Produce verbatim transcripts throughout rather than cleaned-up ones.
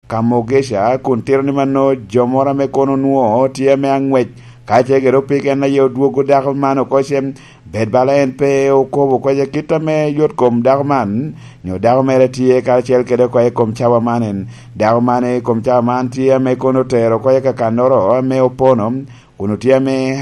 Kamogesha, kun tito ni mano jo moro ame kono onwoŋo tye ame aŋwec, ka ce gire opiko en aye odwogo dako man oko ce, bed bala en pe okobo oko ce kit ame yot kom dako man, nyo dako mere tye karacel kede oko i kom cawa man en. Dako man i kom cawa man tye ame kono otero oko i kakannoro ame opono, kun otye ame,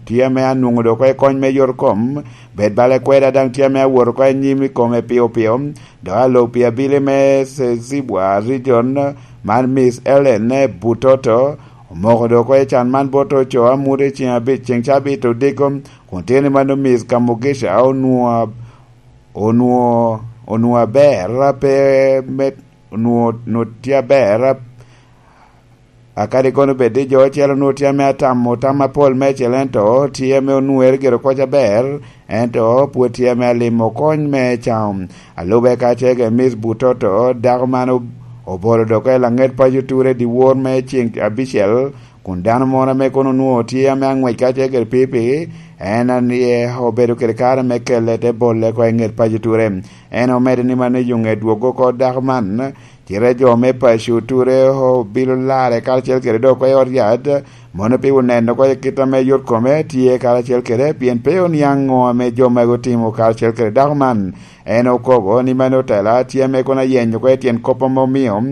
tye ame anwoŋo dok oko i kony me yot kom, bed bala kweda daŋ tye ame awot oko i nyim i kome pio pio, dok alo pi abili me Sezibwa Region, man Miss Ellen Butoto, omoko dok oko i can man bot oco amut i ceŋ abic, ceŋ cabit odiko, kun tye ni mano Miss Kamugisha onwoŋo, onwoŋo, onwoŋo aber, pe me, onwoŋo, onwoŋo tye aber, akadi kono bed ni jo ocele onwoŋo tye ame atamo tam apol meicel, ento tye ame onwoŋere gire oko aber, ento pwod tye ame alimo kony me caŋo. Alube ka ce gire Miss Butoto, dako man ob-, obolo dok oko i laŋet paco ture dyewor me ceŋ abicel, kun dano moro ame kono onwoŋo tye ame aŋwec ka ce gire pipi, en aye obedo kede kare me kelle te bolle oko i ŋet paco ture. En omedo ni mano i yo ŋe dwogo oko dako man, cite jo me paco ture obilo larre karacel kede dok oko i ot yat, mono pi oneno oko i kit ame yot kome tye karacel kede, pien pe oniaŋ ŋo ame jo magi otimo karacel kede dako man. En okobo ni mano otela tye ame kono ayenyo oko i tyen kop ame omio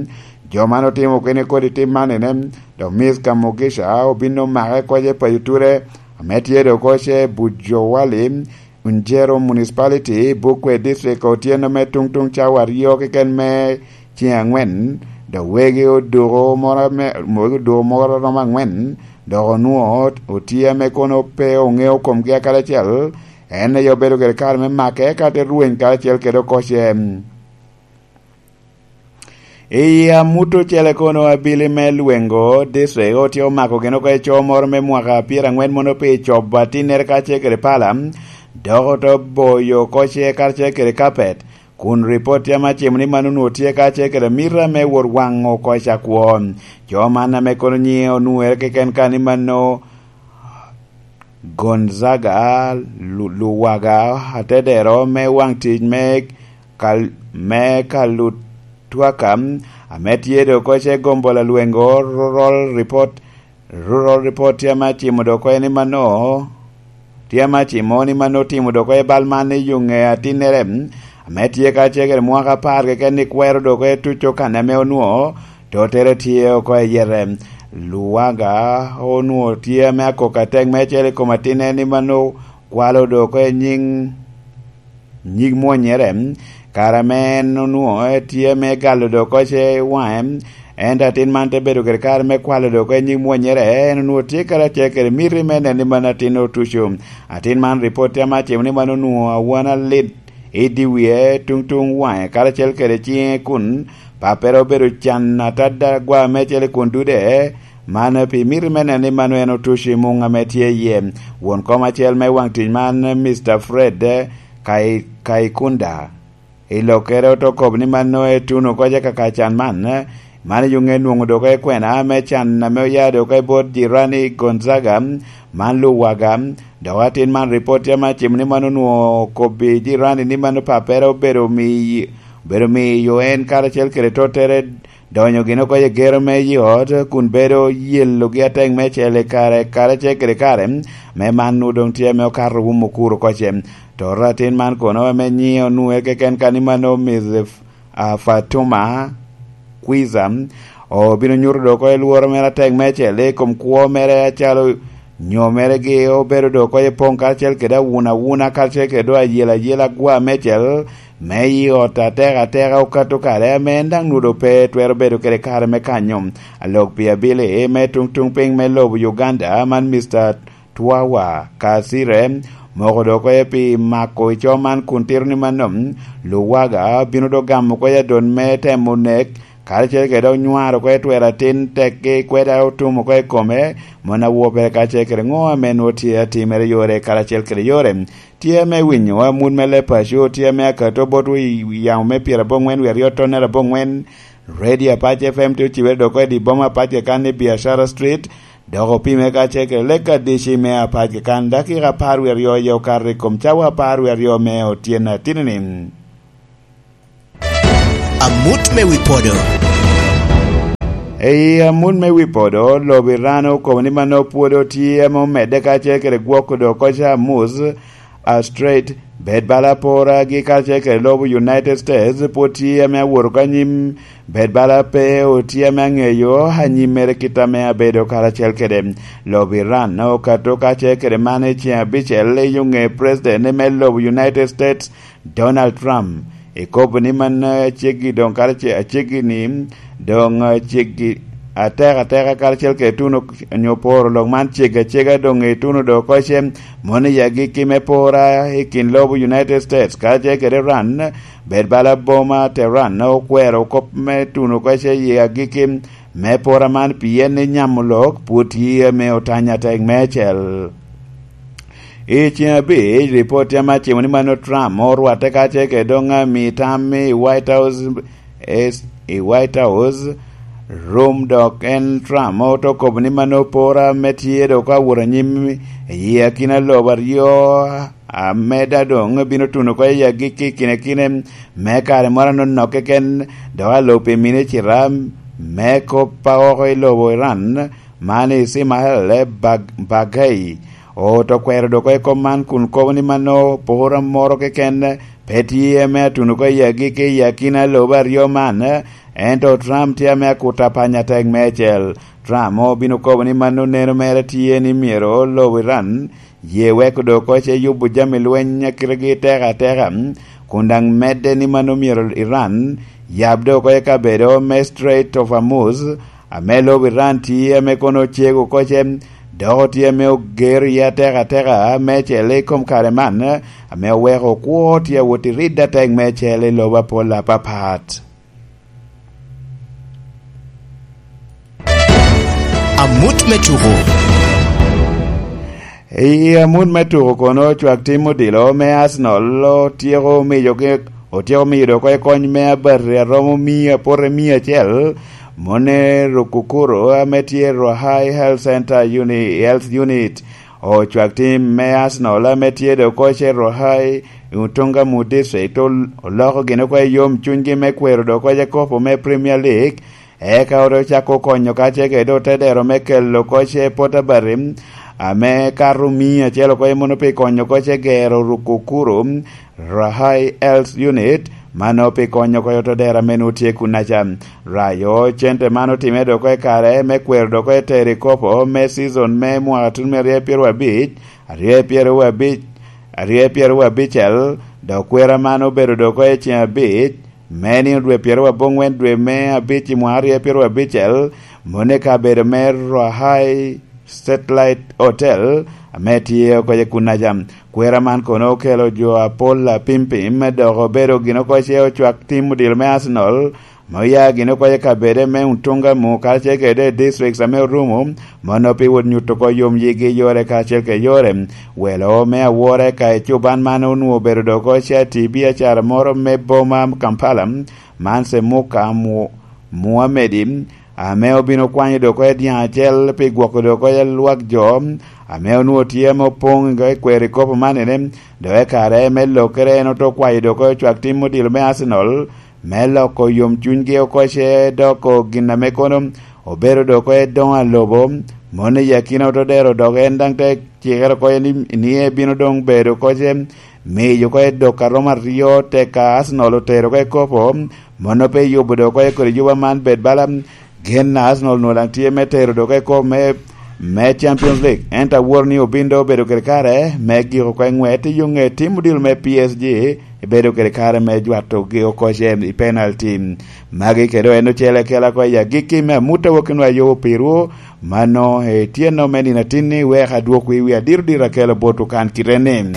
jo man otimo kene kodi tim man ene, dok Miss Kamugisha obin omake oko i paco ture, ame tye dok oko ce Bujowali, Unjero Municipality, Bukwet District, otyeno me tuŋ tuŋ cawa aryo keken me ceŋ aŋwen, dok wegi oduko moro me, wegi oduko moro romo aŋwen, dok onwoŋo otye ame kono pe oŋeo komgi akaracel, en aye obedo kede kare me make, eka te rweny karacel kede oko ce. I amut ocele kono, abili me Lwengo District otye omako gin oko i co moro me mwaka pyeraŋwen mono pi cobo atinnere karacel kede pala, dok ote boyo oko ce karacel kede kapet, kun ripot tye ame acimo ni mano onwoŋo tye karacel kede mita me wot waŋo oko i cakwo. Co man ame kono nyiŋe onwoŋere keken ka ni mano Gonzaga Lu-, Luwaga, atedero me waŋ tic me Kal-, me Kalutwaka, ame tye dok oko ce gombo lalwengo Rural Report, Rural Report tye ame acimo dok oko ni mano, tye ame acimo ni mano otimo dok oko i bal man i yo ŋe atinnere, ame tye ka ce kede mwaka apar keken ni kwero dok oko i tuco kan ame onwoŋo tottere tye oko i yete. Luwaga onwoŋo tye ame akok atek meicel i kom atinne ni mano kwalo dok oko i nyiŋ, nyig mwonnyere, kare ame en onwoŋo tye ame galo dok oko ce waŋe, ento atin man te bedo kede kare me kwalo dok oko i nyig mwonnyere, en onwoŋo tye karacel kede miti me neno ni mano atin otuco. Atin man ripot tye ame acimo ni mano onwoŋo awan alit i dye wie tuŋ tuŋ waŋe karacel kede ciŋe kun pappere obedo can atadda agwa meicel i kun dude, man pi miti me neno ni mano en otuco i muŋ ame tye iye. Won kom acel me waŋ tic man, Mister Fred Kai-, Kaikunda, i lokkere ote kobo ni mano etuno oko ce kaka can man, man i yo ŋe nwoŋo dok oko i kwena me can ame oya dok oko i bot jirani Gonzaga, man Luwaga, dok atin man ripot tye ame acimo ni mano onwoŋo okobbi jirani ni mano pappere obedo mi-, obedo miyo en karacel kede tottere donyo gin oko i gero me i ot, kun bedo yelogi atek meicel i kare, karacel kede kare, me man nwoŋo doŋ tye ame okato wum okuro oko ce. Toto atin man kono ame nyiŋe onwoŋe keken ka ni mano Miss F-, a, Fatuma Kwiza, obino nyuto dok oko i lworo mere atek meicel i kom kwo mere acalo nyo mere gi obedo dok oko i poŋ karacel kede awuna awuna karacel kede dok ayela ayela agwa meicel me i ot atek ateka okato kare ame en daŋ nwoŋo pe twero bedo kede kare me kanyo. Alok pi abili me tuŋ tuŋ piny me lobo Uganda man Mister Twawa Kasire moko dok oko pi mako i co man kun tito ni mano Luwaga bino dok gamo oko i adon me temo nek karacel kede dok nywaro oko i twero atin tekgi kweda otum oko i kome, mon awo pere karacel kede ŋo ame nwoŋo tye atimere yore karacel kede yore. Tye ame winyo amut me leb paco, tye ame akato botwu i yamo me pyeraboŋwen wie aryo tonnere aboŋwen, Radio Apac F M tye ocibere dok oko i di boma Apac kakan i Biashara Street, dok opime karacel kede lek adici me Apac kakan dakika apar wie aryo aye okato i kom cawa apar wie aryo me otyeno atinni. Amut me wi podo. I amut me wi podo, lobo Iran okobo ni mano pwod otye ame omedde kacel kede gwoko do koca Hormuz a Strait, bed bala poragi kacel kede lobo United States pwod tye ame awoto ka nyim, bed bala pe otye ame aŋeyo anyimmere kit ame abedo karacel kede. Lobo Iran okato kacel kede man i ceŋ abicel i yo ŋe president me lobo United States, Donald Trump, ekobo ni man aceggi doŋ kara ce-, aceggi ni doŋ aceggi atek ateka karacel kede tuno onyo poro lok man ceggi acega doŋ i tuno do koce, mono i agikki me pora i kin lobo United States karacel kede Iran, bed bala boma Tehran okwero kop me tuno koce i agikki me pora man pien ni nyamo lok pwod tye ame otanya tek meicel. I ceŋ abic, ripot tye ame acimo ni mano Trump orwatte kacel kede doŋ ami tam i White House, es-, i White House room, dok en Trump oto kobo ni mano pora ame tye dok awot anyim i akina lobo aryo, ameda doŋ bino tuno oko i agikki kinekine me kare moro anono keken, dok alo pi mine cita me kop a oko i lobo Iran, man Ismail Bag-, Baghai, oto kwero dok i kop man kun kobo ni mano pora moro keken pe tye ame atuno oko i agikki i akina lobo aryo man, ento Trump tye ame akuto apanya tek meicel. Trump obino kobo ni mano neno mere tye ni myero lobo Iran ye wek dok koce yubo jami lweny a kitegi tek ateka, kun daŋ medde ni mano myero Iran yab dok koce kabedo me Strait of Hormuz, ame lobo Iran tye ame kono ocego koce, dok tye ame ogero iye atek ateka meicel i kom kare man, ame oweko kwo tye awot i ridde atek meicel i lobo apol apapat. Amut me tuko. I amut me tuko kono, cwak tim odilo me Arsenal otyeko miyogi, otyeko miyo dok oko kony me abati aromo mia, pote mia acel, mone Rukukuro ame tye Ruahai Health Center Uni-, Health Unit. Ocwak tim me Arsenal ame tye dok oko i Ruahai, Utunga mu District, ol-, oloko gin oko i yom cunygi me kwero dok oko i kopo me Premier League, eka ote ocako konyo kacel kede otedero me kelo koce pot abati, ame kato mia acel oko i mano pi konyo koce gero Rukukuru Rahai Health Unit, mano pi konyo oko i otedero ame nwoŋo tye kunnaca. Rayo cente man otimme dok oko i kare me kwero dok oko i tero i kopo me season me mwaka tun me aryo pyero abic, aryo pyero abic, aryo pyero abicel, dok kwera man obedo dok oko i ceŋ abic, me nino dwe pyeraryo aboŋwen dwe me abic i mwaka aryo pyeraryo abicel, mone i kabedo me Ruahai Satellite Hotel, ame tye oko i kunnaca. Kwera man kono okelo jo apol apimpim, dok obedo gin oko ce ocwak tim odilo me Arsenal, me oya gin oko i kabede me Utunga mu, karacel kede districts ame orumo, mono pi wot nyuto oko yom yigi yore karacel kede yore. Welo me awora ka i cuban man onwoŋo obedo dok oko ce ati biacara moro me boma Kampala, man Semuka Mu-, Muhamedi, ame obino kwanyo dok oko i dyaŋ acel pi gwoko dok oko i lwak jo, ame onwoŋo tye ame opoŋ i kwero i kopo man ene, dok i kare me lokere en oto kwayo dok oko i cwak tim odilo me Arsenal, me loko yom cunygi oko ce doko gin ame kono obedo dok oko i doŋ alobo, mono i akina oto dero dok en daŋ te cikere oko ni, ni ebino doŋ bedo oko ce miyo oko i dok a romo aryo tek a Arsenal otero oko i kopo, mono pe yubo dok oko i kodi yuba man bed bala gen a Arsenal nwoŋo daŋ tye me tero dok oko i kopo me, me Champions League. Ento aworo ni obin doŋ obedo kede kare me giko oko i ŋwet i yo ŋe tim odilo me P S G, ebedo kede kare me jwato gi oko ce i penalty. Magi kede en ocele kela oko i agikki me amut a wok enwa yobo pirwu, mano etyenno me nino atinni, wek adwok wi wi adiro diro akelo bot okan kite ni.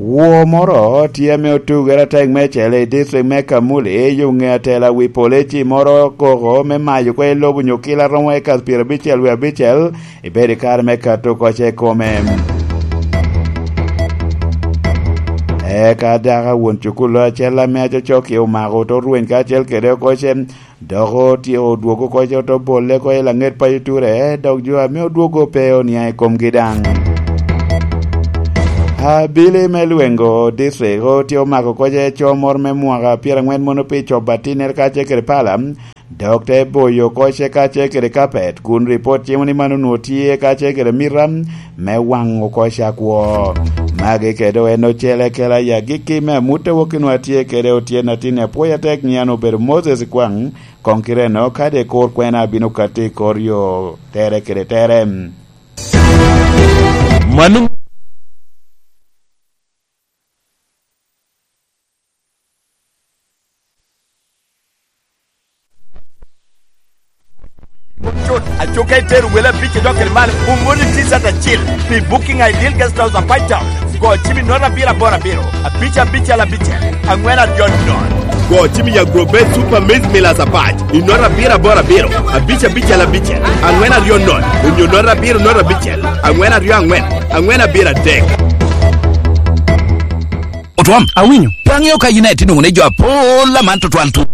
Woo moro tye ame otugere atek me cele i district me Kamuli, yo ŋe atela wi poleci moro koko me mayo kwe lobo nyo kila romo eka pyerabicel wi abicel, ibedo i kare me kato koce i kome. Eka daka won cukulu acel ame acocok-ki omako oto rweny kacel kede okoce, dok otyeko odwogo koce oto bolle oko i laŋet paco ture, dok jo ame odwogo pe oniaŋ i komgi daŋ. Abili me lwengo district otyeko mako koce co moro me mwaka pyeraŋwen mono pi cobo atinnere kacel kede pala, Dok te boyo oko ce kacel kede kapet, kun ripot cimo ni man onwoŋo tye kacel kede mita me waŋo oko ce akwo. Magi kede en ocele kela i agikki me amut a wok i nwa tye kede otyen atin apwoyo atek nyian obedo Moses Kwaŋ, koŋ kite eno kadi kur kwena abino katti i kor yo tere kede tere. Mano Cut, aco ka itero wele abic idok kede malo, omoni T-shirt acil pi Booking Ideal Guest House Apac Town. Go cim i note abiro aboro abiro, abic abicel abicel, angwen aryo nono. Go cim i Agro Best Super Maize Millers Apac i note abiro aboro abiro, abic abicel abicel, angwen aryo nono, onyo note abiro note abicel, angwen aryo angwen, angwen abiro adek. Otwom, awinyo. Pe aŋeo ka yin aye tye nwoŋo ni jo apol aman tutwal tu.